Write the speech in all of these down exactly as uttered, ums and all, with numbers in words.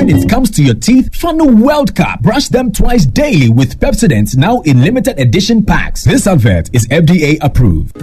When it comes to your teeth, Funnel World Cup. Brush them twice daily with Pepsodent now in limited edition packs. This advert is F D A approved.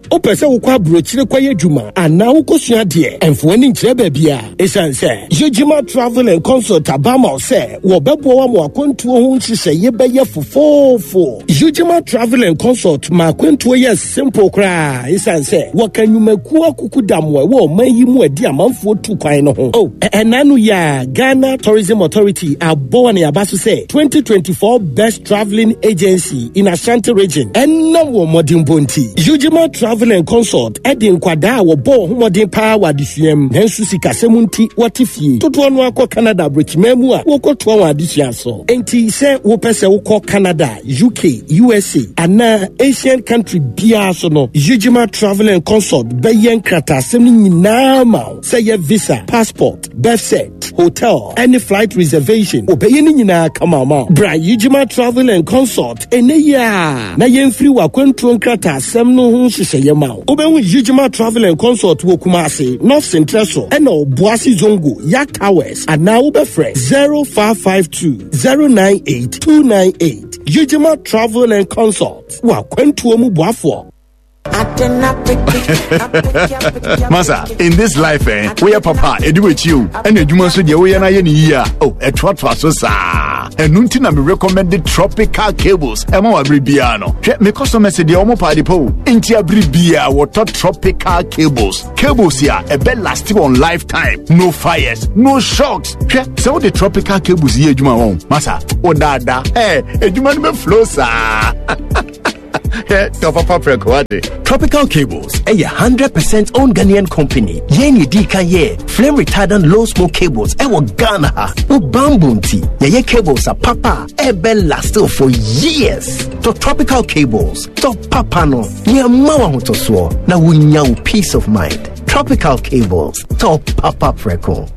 Wopɛ sɛ wokɔ aburokyire kɔyɛ adwuma anaa wokɔsua adeɛ, ɛmfo ani nkyerɛ baabi a ɛsiane sɛ Yegyima Travel and Consult aba ma wo sɛ wɔbɛboa wo ama akwantuo ho nhyehyɛeɛ bɛyɛ fofoofo. Yegyima Travel and Consult ma akwantuo yɛ simple koraa ɛsiane sɛ wɔka nnwumakuo akuku damoa ɛwɔ ɔman yi mu adi amanfoɔ tu kwan no ho. Oh, ɛna no yɛ a Ghana Tourism Authority abɔ wɔ ne aba so sɛ twenty twenty-four Best Travelling Agency in Ashanti Region ɛnam wɔ mmɔdenbɔ nti, Yegyima Travel and Consult ɛde nkwadaa a wɔbɔ wɔn ho mmɔden paa wɔ adesua mu nanso sikasɛm nti wɔte fie dodoɔ no akɔ Canada aburokyiman mu a wɔkɔtoa wɔn adesua so. Enti sɛ wopɛ sɛ wokɔ Canada, U K, U S A anaa Asian country biara so no, Yegyima Travel and Consult bɛyɛ nkrataasɛm no nyinaa ma wo, sɛ yɛ visa, passport, birth cert, hotel ɛne flight reservation, wɔbɛyɛ no nyinaa kama ma wo. Bra Yegyima Travel and Consult ɛnɛ yi a na yɛmfiri w'akwantuo nkrataasɛm no ho nhyehyɛeɛ ma wo. Wobɛhu Yegyima Travel and Consult wɔ Kumase, North Central so ɛna Ɔboase Zongo Yak Towers, anaa wobɛfrɛ zero five five two zero nine eight two nine eight. Yegyima Travel and Consult, wɔ akwantuo mu boafoɔ. Masa, in this life, eh, woyɛ papa ɛdi w'akyi o, ɛna adwuma nso deɛ woyɛ no ayɛ ne yie a, oh, ɛtoatoa so saa. Ɛno nti na me recommend Tropical Cables ɛma wɔ abere biara no. Hwɛ, me customers deɛ, ɔmo paade pa o, nti abere biara wɔtɔ Tropical Cables. Cables a ɛbɛ last wɔn lifetime, no fires, no shocks. Hwɛ, sɛ wode Tropical Cables yɛ adwuma wɔn, masa, wodaadaa ɛ adwuma no bɛ flow saa. Tɔ papa prɛko wate. Tropical Cables ɛyɛ one hundred percent owned Ghanaian company. Yɛn yɛ di kan yɛ flame retardant low smoke cables ɛwɔ Ghana ha. Wo bamboo nti yɛyɛ cables a papa ɛbɛ last for years. Tɔ Tropical Cables, tɔ papa no nneɛma wɔ ahotɔsoɔ na wonya wo peace of mind. Tropical Cables, tɔ papa prɛko.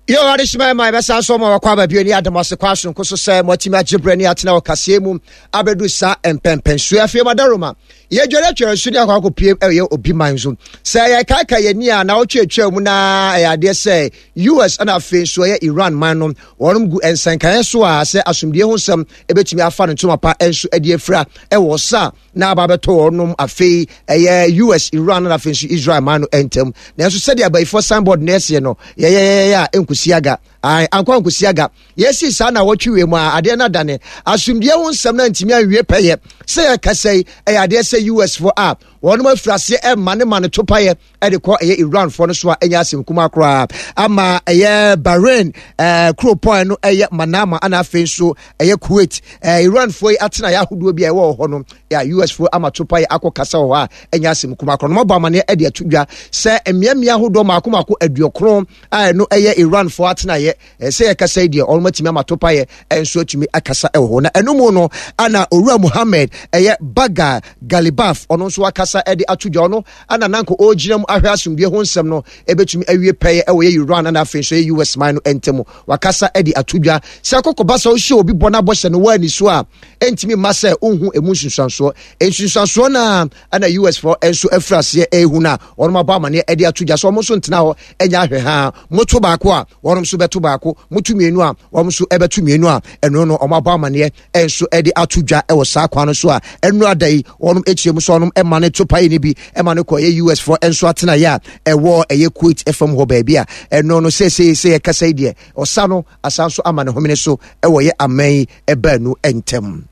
Yɛ adehyema ma yɛbɛsan so ma wakɔ aba bio ne adom ase kɔ asonko so sɛ moatumi agye berɛ ne atena wɔ kaseɛ mu abɛdu saa mpɛmpɛnsuo. Afei madaroma yɛdware atwere nso ne akɔ akɔpie ɛyɛ obi man so sɛ yɛkaaka yɛni a na wotweatwaa mu na ɛyɛ adeɛ sɛ U S ɛna afei nso ɛyɛ Iran man no wɔnom gu nsɛnkaeɛ so a sɛ asomdue ho nsɛm ɛbɛtumi afa no ntoma pa nso adi afira ɛwɔ sa na aba abɛtɔ wɔnom afei ɛyɛ U S, Iran na afei nso Israel man no ntam. Nanso sɛdeɛ abayifoɔ signboard na ɛseɛ no, yɛyɛyɛyɛ a ɛnkosi aga, ankɔ ankosi aga. Yɛsi saa na wɔtwe wie mu a adeɛ no adane asomdue ho nsɛm no antumi anwie pɛyɛ. Sɛ yɛkasa yi, ɛyɛ adeɛ sɛ U S foɔ a wɔnom afiri aseɛ ɛma ne ma no topayɛ ɛde kɔ ɛyɛ Iran foɔ no so a ɛnyɛ asɛm kuma koraa ama ɛyɛ Bahrain, ɛɛ kuropɔn no ɛyɛ Manama, ana afei nso ɛyɛ Kuwait, ɛɛ Iran foɔ yi atena yɛ ahodoɔ bi a ɛwɔ hɔ no yɛ U S foɔ ama topa yɛ akɔ kasa wɔ hɔ a ɛnyɛ asɛm kuma koraa. No mabɔ amaneɛ ɛde ato dwa sɛ mmeammea ahodoɔ mako mako aduokron a ɛno ɛyɛ Iran foɔ atena yɛ ɛsɛ yɛkasa yi deɛ, ɔno atumi ama topa yɛ ɛnso atumi akasa ɛwɔ hɔ. Na ɛno mu no ana Owura Muhammed ɛyɛ Baga Galibaf, ɔno nso akasa ɛde ato dwa. Ɔno ana nanko ɔgyina mu ahwɛ asomdue ho nsɛm no ɛbɛtumi awie pɛyɛ ɛwɔ yɛ Iran ana afei nso yɛ U S man no ntam. Wakasa ɛde ato dwa sɛ akɔkɔba sɛ wohyɛ obi bɔ no abɔhyɛ no wɔ ani so a ɛntumi mma sɛ wohu ɛmu nsunsuansoɔ. Nsunsuansoɔ no a ɛna U S foɔ nso afiri aseɛ ɛrehu no a wɔn abɔ amaneɛ ɛde ato dwa sɛ wɔn nso ntena hɔ ɛnyɛ ahwɛ ha. Moto baako a, wɔn nso bɛto baako. Moto mmienu a, wɔn nso ɛbɛto mmienu a ɛno no wɔn abɔ amaneɛ nso ɛde ato dwa ɛwɔ saa kwan no so a ɛno ada yi wɔn akyire mu so wɔn ɛma ne to pae ne bi ɛma no kɔ ɛyɛ U S foɔ nso atena yɛ a ɛwɔ ɛyɛ Kuwait ɛfam hɔ baabi a ɛno no seesei sɛ yɛkasa yi deɛ, ɔsa no asan so ama ne homene so ɛwɔ yɛ aman yi ɛbaanu ntɛm.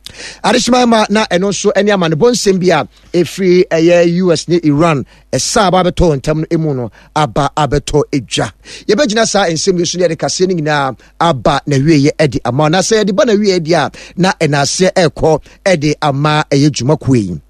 Adehyema ma na ɛno nso ɛne amanebɔ nsɛm bi a ɛfiri ɛyɛ U S ne Iran ɛsa aba abɛtɔ ntam no mu no aba abɛtɔ edwa. Yɛbɛgyina saa nsɛm yi so ne yɛde kaseɛ no nyinaa aba na wieɛ ɛde ama na sɛ yɛde ba na wieɛ deɛ a na ɛnaaseɛ ɛrekɔ ɛde ama ɛyɛ dwumakuo yi.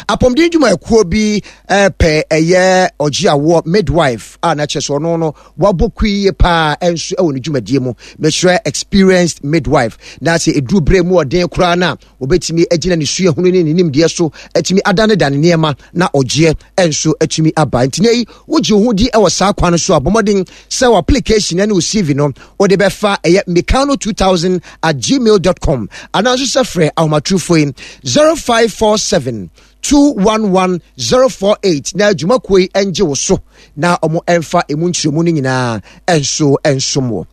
Apɔmuden dwumayɛkuo bi pɛ ɛyɛ ɔgye awoɔ midwife a na kyerɛ sɛ ɔno no wabɔ kui yie paa nso wɔ ne dwumadie mu, mekyerɛ experienced midwife, na sɛ ɛduru berɛ mu ɔden koraa no a wɔbɛtumi agyina ne suahunu ne ne nimdeɛ so atumi adanedane nneɛma na ɔgyeɛ nso atumi aba. Nti ne yi wogye wo ho di wɔ saa kwan no so a, bɔ mmɔden sɛ wɔ application ne wo C V no wode bɛfa ɛyɛ mikano two thousand at gmail dot com anaa nso sɛ frɛ ahomatorofo yi zero five four seven two one one zero four eight na adwumakuo yi ngye wo so na wɔn mfa emu nkyerɛmu no nyinaa nso nsom wɔ.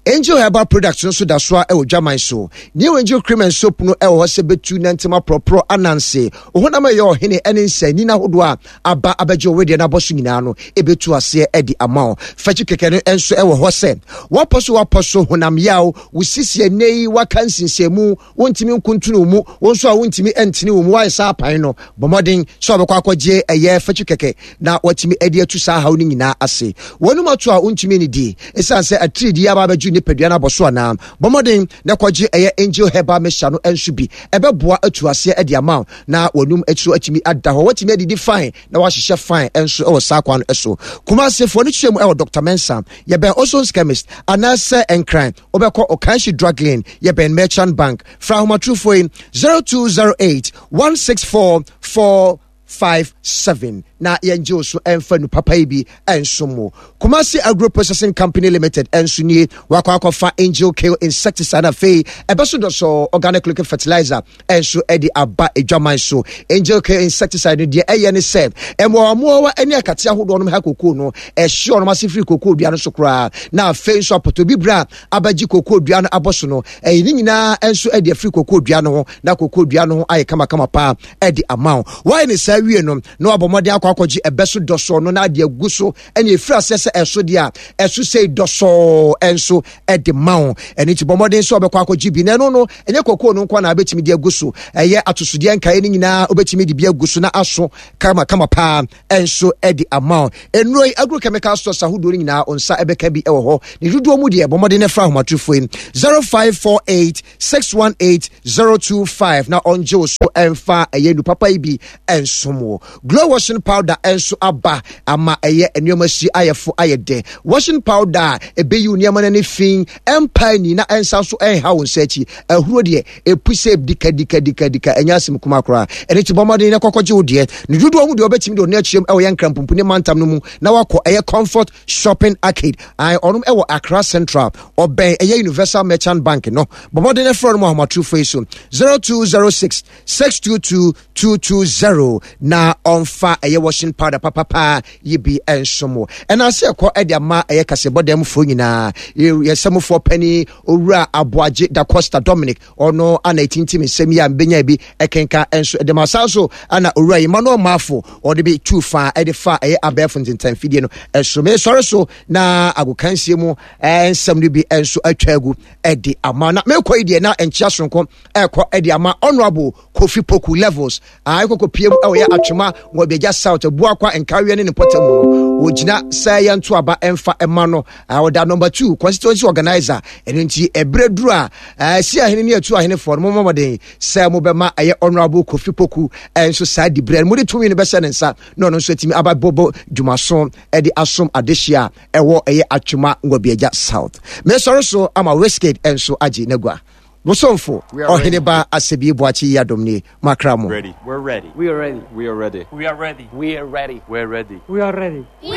Angel Herbal Products no nso da so a ɛwɔ dwaman so. New Angel Cream and Soap no ɛwɔ hɔ sɛ bɛtu nantem aporɔporɔ ananse. Ohonam ɛyɛ ɔhene ne nsɛnnin ahodoɔ a aba abɛgye wo wedeɛ no abɔ so nyinaa no ɛbɛtu aseɛ de ama wo. Fakyi kɛkɛ no nso ɛwɔ hɔ sɛ wapɔ so wapɔ so honam yaw, wo sisi ɛnɛ yi waka nsinsiamu, wontumi nkuntunu wo mu, wo nso a wontumi ntene wo mu, woayɛ saa apan no, bɔ mmɔden sɛ wɔbɛkɔ akɔgye ɛyɛ fakyi kɛkɛ na watumi de atu saa haw no nyinaa ase. Wɔnom ato a wontumi nnidi esiane sɛ atiridii aba abɛgye nipadua no abɔ so anaa? Bɔ mmɔden na kɔgye ɛyɛ Angel Herbal Mixture no nso bi. Ɛbɛboa atu aseɛ de ama wo na wɔnum akyi atumi ada hɔ. Watumi adidi fine na wahyehyɛ fine nso wɔ saa kwan no so. Kumasefoɔ no kyerɛ mu ɛwɔ Doctor Mensah, yɛbɛn Ozon's Chemist anaasɛ Nkran wobɛkɔ Okanshi Drug Lane, yɛbɛn Merchant Bank. Fra ahomatorofoɔ yi zero two zero eight one six four four five seven na yɛngye wo so ɛmfa nu papa yi bi ɛnsom wo. Kumasi Agro Processing Company Limited ɛnso nie, wakɔ akɔfa Angel Kill Insecticide na afei ɛbɛso dɔsɔ organic liquid fertilizer ɛnso ɛde aba adwaman so. Angel Kill Insecticide no deɛ ɛyɛ ne sɛ mmoawammoawa ne akate ahodoɔ nom ha kokoo no, ɛhye ɔnom ase firi kokoo dua no so koraa, na afei nso apɔtɔ bibire a abɛgye kokoo dua no abɔ so no, ɛyi ne nyinaa nso ɛde afiri kokoo dua no ho na kokoo dua no ho ayɛ kamakama paa ɛde ama wo. Wayɛ ne saa wie no, na wabɔ mmɔden akɔ akɔgye ɛbɛ so dɔsɔɔ no na ade agu so, ɛne ɛfiri aseɛ sɛ ɛso deɛ a ɛso sei dɔsɔɔ ɛnso ɛde ma wo. Ɛno nti bɔ mmɔden sɛ ɔbɛkɔ akɔgye bi, na ɛno no ɛnyɛ kokoo no nko na wobɛtumi de agu so, ɛyɛ atosodeɛ nkaeɛ no nyinaa wobɛtumi de bi agu so na aso kamakama paa ɛnso ɛde ama wo. Nnuro yi agrochemical stores ahodoɔ no nyinaa wo nsa ɛbɛka bi ɛwɔ hɔ. Ne dodoɔ mu deɛ bɔ mmɔden no fra ahomatorofoɔ yi zero five four eight six one eight zero two five na ɔngye wo so ɛmfa ɛyɛ nu papa yi bi ɛnsom wo. Glow washing powder ɛnso aba ama ɛyɛ nneɛma si ayɛ fo ayɛ dɛ. Washing powder a ɛbɛyi wo nneɛma no ani fi, ɛmpa ani na ɛnsa nso ɛnha wo nsa akyi. Ahuro deɛ ɛpu sɛ dika dika dika dika, ɛnyɛ asɛm kuma koraa. Ɛno nti bɔ mmɔden na kɔkɔgye wo deɛ. Ne dodoɔ mu deɛ wobɛtumi de ɔno akyerɛm ɛwɔ yɛn Nkran ne mantam no mu na wakɔ ɛyɛ Comfort Shopping Arcade. Ae, ɔnom ɛwɔ Accra Central, ɔbɛn ɛyɛ Universal Merchant Bank no. Bɔ mmɔden na frɛ no mu ahomatorofo yi so zero two zero six six two two two two zero na ɔmfa ɛyɛ washing powder papapa yi bi nsom wo. Ɛna ase ɛkɔ ɛde ama ɛyɛ kasɛbɔ dan mufoɔ nyinaa. Yɛsɛmufoɔ panin Owura Aboagye Da Costa Dominic, ɔno ana ɛtintim nsɛm yi a mbɛnya bi ɛkenka nso ɛde ma. Saa nso ana Owura Emmanuel Mafo ɔde bi tu fa ɛde fa ɛyɛ abɛɛfo ntentanfidie no ɛso. Mesɔre so na agokansie mu nsɛm no bi nso atwa agu ɛde ama. Na mekɔ yi deɛ na nkyea soronko ɛkɔ ɛde ama Honorable Kofi Poku Levels a ɛkɔkɔ pie mu ɛwɔ yɛ Atwema Wɔbiagya South Abuakwa Nkareɛ ne ne mpɔtam mu no. Wɔgyina sɛ yɛnto aba ɛmfa ɛma no. Ɔda number two constituency organizer. Ɛno nti ɛberɛ duru a ɛsi ahene ne atu ahenefoɔ no, mommɔ mmɔden sɛ mobɛma ɛyɛ Honorable Kofi Poku ɛnso saa diberɛ no, mode tumi no bɛhyɛ ne nsa na ɔno nso atumi aba bɔbɔ dwumaso ɛde asom adehye a ɛwɔ ɛyɛ Atwema Nwabiagya South. Mesɔre so ama Wizkid ɛnso agye n'agua. Bosomfo Ɔheneba Asebi Boakye yi adom nie makra mo. Ready. We're ready. We are ready. We are ready. We are ready. We're ready. We are ready. We are ready. We